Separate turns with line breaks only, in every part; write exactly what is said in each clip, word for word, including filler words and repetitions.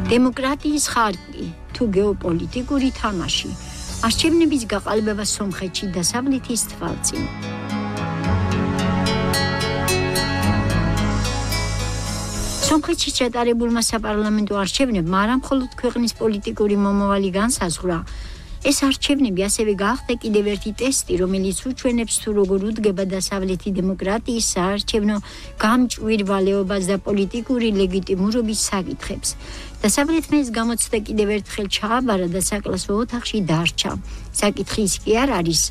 დემოკრატიის ხარკი თუ გეოპოლიტიკური თამაში არჩევნების გაყალბება სომხეთში დასავლეთის თვალწინ. სომხეთში ჩატარებულმა საპარლამენტო არჩევნებმა არა მხოლოდ ქვეყნის პოლიტიკური მომავალი განსაზღვრა, ეს არჩევნები ასევე გახდა კიდევ ერთი ტესტი, რომელიც უჩვენებს თუ როგორ უდგება დასავლეთი დემოკრატიის საარჩევნო გამჭვირვალეობას და პოლიტიკური ლეგიტიმურობის საკითხებს. დასავლეთმა ეს გამოცდა კიდევ ერთხელ ჩააბარა და საკლასო ოთახში დარჩა. საკითხი ის კი არ არის,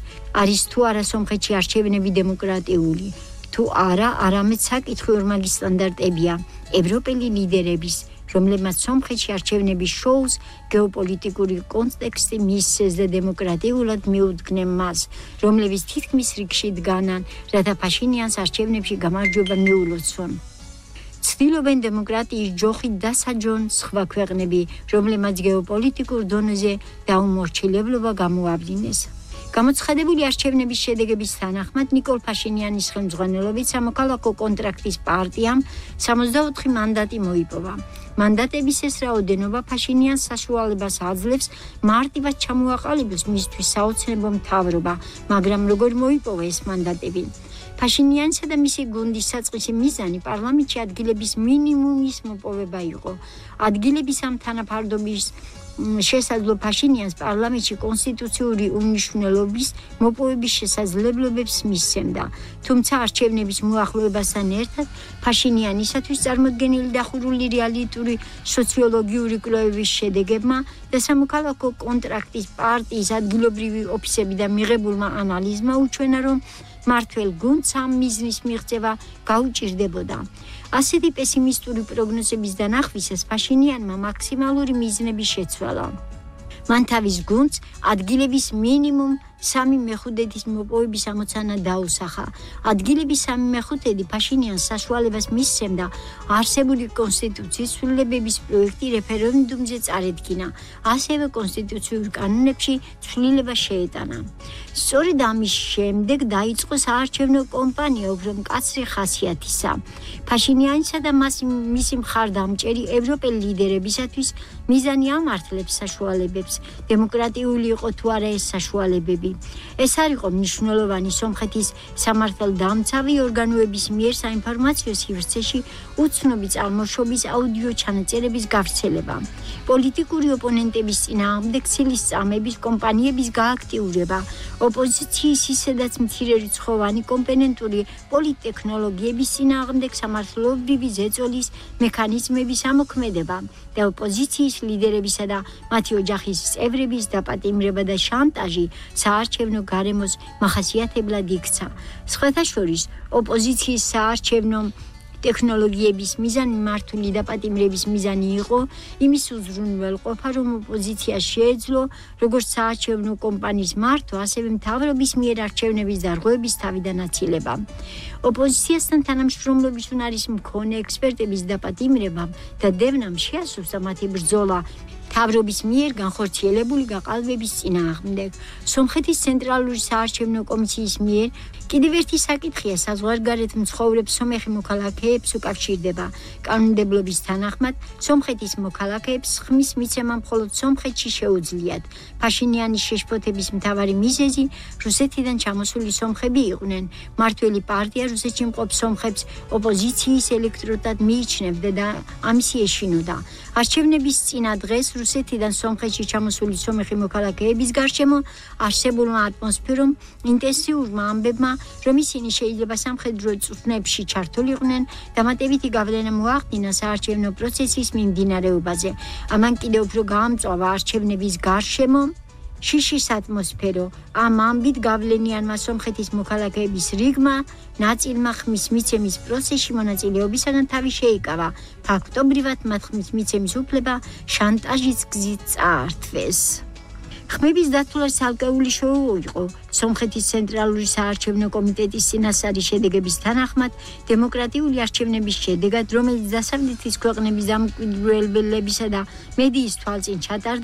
არის თუ არა სომხეთში არჩევნები დემოკრატიული, თუ არა, არამედ საკითხი ორმაგი სტანდარტებია ევროპელი ლიდერების, რომლებმაც სომხეთში არჩევნების შოუს გეოპოლიტიკური კონტექსტი მისცეს და დემოკრატიულად მიუდგნენ მას, რომლებიც თითქმის რიგში დგანან, რათა ფაშინიანს არჩევნებში გამარჯვება მიულოცონ. ცდილობენ დემოკრატიის ჯოხით დასაჯონ სხვა ქვეყნები, რომლებმაც გეოპოლიტიკურ დონეზე დაუმორჩილებლობა გამოავლინეს. გამოცხადებული არჩევნების შედეგების თანახმად ნიკოლ ფაშინიანის ხელმძღვანელობით სამოქალაქო კონტრაქტის პარტიამ სამოცდაოთხი მანდატი მოიპოვა. მანდატების ეს რაოდენობა ფაშინიანს საშუალებას აძლევს მარტივად ჩამოაყალიბოს მისთვის საოცნებო მთავრობა, მაგრამ როგორ მოიპოვა ეს მანდატები? ფაშინიანსა და მისი გუნდის საწყისი მიზანი პარლამენტში ადგილების მინიმუმის მოპოვება იყო. ადგილების ამ თანაფარდობის შესაძლო ფაშინიანს პარლამენტში კონსტიტუციური უმნიშვნელობის მოპოვების შესაძლებლობებს მისცემდა. თუმცა არჩევნების მოახლოებასთან ერთად ფაშინიანისათვის წარმოდგენილი დახურული რეალიტური სოციოლოგიური კვლევების შედეგებმა და სამოქალაქო კონტრაქტის პარტიის ადგილობრივი ოფისები და მიღებულმა ანალიზმა უჩვენა, რომ მართველ გუნდს ამ მიზნის მიღწევა გაუჭირდებოდა. ასეთი პესიმისტური პროგნოზების დანახვისას ფაშინიანმა მაქსიმალური მიზნები შეცვალა. მან თავის გუნდს ადგილების მინიმუმ სამი მეხუთედის მოპოვების ამოცანა დაუსახა. ადგილების სამი მეხუთედი ფაშინიანს საშუალებას მისცემდა არსებული კონსტიტუციის ცვლილებების პროექტი რეფერენდუმზე წარედგინა, ასევე კონსტიტუციურ კანონებში ცვლილება შეეტანა. სწორედ ამის შემდეგ დაიწყო საარჩევნო კამპანია უფრო მკაცრი ხასიათისა. ფაშინიანისა და მისი მხარდამჭერი ევროპელი ლიდერებისათვის მიზანი ამართლებს საშუალებებს, დემოკრატიული იყო თუ არა ეს საშუალებები. ეს არ იყო მნიშვნელოვანი სომხეთის სამართალდამცავი ორგანოების მიერ საინფორმაციო სივრცეში უცნობი წარმოშობის აუდიო ჩანაწერების გავრცელება, პოლიტიკური ოპონენტების წინააღმდეგ ცილის წამების კომპანიების გააქტიურება, ოპოზიციის ისედაც მცირერიცხოვანი კომპონენტური პოლიტტექნოლოგიების წინააღმდეგ სამართლებრივი ზეწოლის მექანიზმების ამოქმედება და ოპოზიციის ლიდერებისა და მათი ოჯახის წევრების დაპატიმრება და შანტაჟი საარჩევნო გარემოს მახასიათებლად იქცა. სხვათა შორის, ოპოზიციის საარჩევნო ტექნოლოგიების მიზანი მართული დაპატიმრების მიზანი იყო იმის უზრუნველყოფა, რომ ოპოზიციას შეეძლო როგორც საარჩევნო კამპანიის მართვა, ასევე მთავრობის მიერ არჩევნების დარღვევების თავიდანაცილება. ოპოზიციასთან თანამშრომლობის უნარის მქონე ექსპერტების დაპატიმრებამ და დევნამ შეასრულა მათი ბრძოლა მთავრობის მიერ განხორციელებული გაყალბების წინააღმდეგ. სომხეთის ცენტრალური საარჩევნო კომისიის მიერ კიდევ ერთი საკითხია საზღვარგარეთ მცხოვრებ სომეხი მოქალაქეებს უკავშირდება. კანონმდებლობის თანახმად სომხეთის მოქალაქეებს ხმის მიცემა მხოლოდ სომხეთში შეუძლიათ. ფაშინიანის შეშფოთების მთავარი მიზეზი რუსეთიდან ჩამოსული სომხები იყვნენ. მართველი პარტია რუსეთში მყოფ სომხებს ოპოზიციის ელექტროტად მიიჩნევდა და ამისი ეშინოდა. არჩევნების წინა დღეს რუსეთიდან სომხეთში ჩამოსული სომეხი მოქალაქეების გარშემო არსებულმა ატმოსფერომ, ინტენსიურმა ამბებმა, რომ ისინი შეიძლება სამხედრო წვრთნებში ჩართულიყვნენ, დამატებითი გავლენა მოახდინა საარჩევნო პროცესის მიმდინარეობაზე. ამან კიდევ უფრო გაამწვავა არჩევნების გარშემო შიშის ატმოსფერო. ამ ამბით გავლენიანმა სომხეთის მოქალაქეების რიგმა ნაწილმა ხმის მიცემის პროცესში მონაწილეობისაგან თავი შეიკავა. ფაქტობრივად მათ ხმის მიცემის უფლება შანტაჟის გზით წაართვეს. ხმების დათვლა ცალკეული შოუ იყო. სომხეთის ცენტრალური საარჩევნო კომიტეტის წინასწარი შედეგების თანახმად, დემოკრატიული არჩევნების შედეგად, რომელიც დასავლეთის ქვეყნების დამკვირვებლებისა და მედიის თვალწინ ჩატარდა,